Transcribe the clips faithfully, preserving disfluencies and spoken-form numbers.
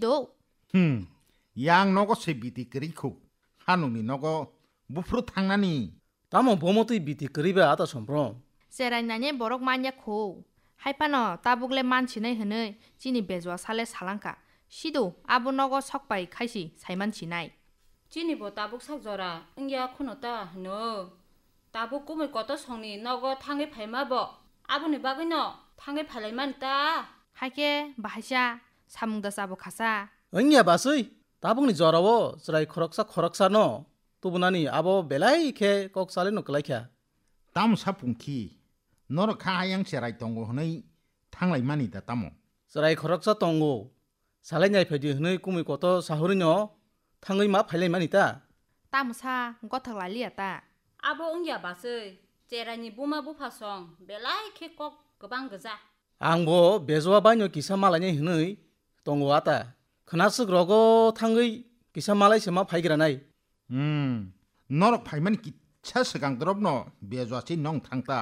do. Hmm, yang nogo se biti kwrwi khu. Hanungni nogo buphuru thangnani. Tamo bomo twi biti kwrwi ba ata somprom? Cherai nani borok manya khu. Hai phano tabuk le man sinai hwnwi chini bejwa sale salangkha. Sido abo nogo sok pai khaisi saiman sinai. Chini bo tabuk sak jora wngya khuno ta hwno. Tabuk kumui kotor songni nogo thangwi phaima bo. Aboni bagwino thangwi phailaimani ta. Haikhe bahaisa samung da chabo khasa. Wngya basui, tabukni jorao chwrai khoroksa khoroksano tubunani abo belai khe kok salino kwlaikha. Tamo sa pungkhi, norok kha hayang cherai tongo hwnwi thanglaimani da tamo? Chwrai khoroksa tongo, salai nai phaidi hwnwi kumui kotor sahorino thangwi ma phailaimani ta? Tamo sa gothok laliya ta? Abo wngya basui, cheraini buma bupha song belai khe kok kwbang gwja. Angbo bejwa baino kisa malainai hwnwi tongo ata. Khwnakswk rogo thangwi kisa malai se ma phaigranai. Hmm, norok phaimani kisa swkang dorobno bejwa se nong thangta.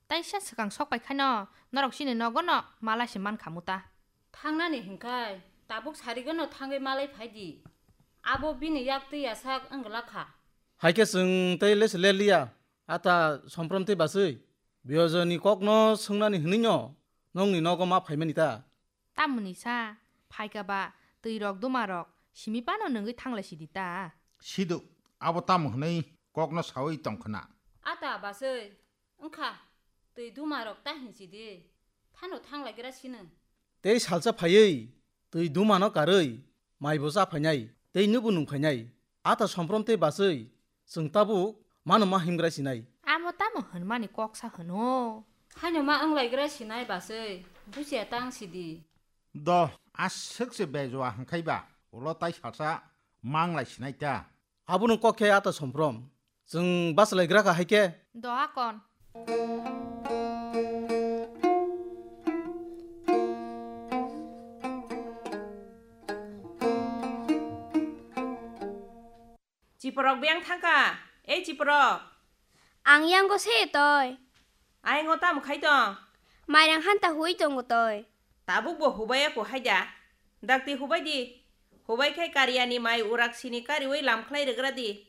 Taisa swkang sok pai khaino norok chini nogono malai se mankha muta. Thangnani hinkhai tabuk sarigono thangwi malai phaidi. Abo bini yak twi yasak wngla kha. Haikhe chwng tei lese leliya, ata somprom tei basui. Bejwani kokno swngnani hwnwino nongni nogo ma phaimani ta? Tamoni sa, phaika ba, twi rok duma rok, simi pano nungwi thanglai sidi ta. Sido, abo tamo hwnwi kokno sawi tongkhwna. Ata basui, wngkha, twi duma rok ta hinsidi, phano thanglaigra sino. Tei salsa phaiwi, twi dumano karwi, maibo cha phainai, tei nubo nung phainai. Ata somprom tei basui, chwng tabuk mano ma himgra sinai. Amo tamo hwnmani koksa hwno? Haino ma wnglaigra sinai basui, busia tang sidi. Do, aswk se bejwa hwnkhai ba, ulo tai salsa manglai sinai ta. Abono kok khe ata somprom, chwng bachlaigra kha hai khe. Do akon. Chiporok biyang thangkha, ei chiporok. Ang yango se toi. Ayang o tamo khai tong? Mairang hanta hui tongo toi. Tabuk bo hubai ya ko hai da. Dakti hubai di. Hubai khai kariya ni mai urak sini kariwi lam khlai rwgra di.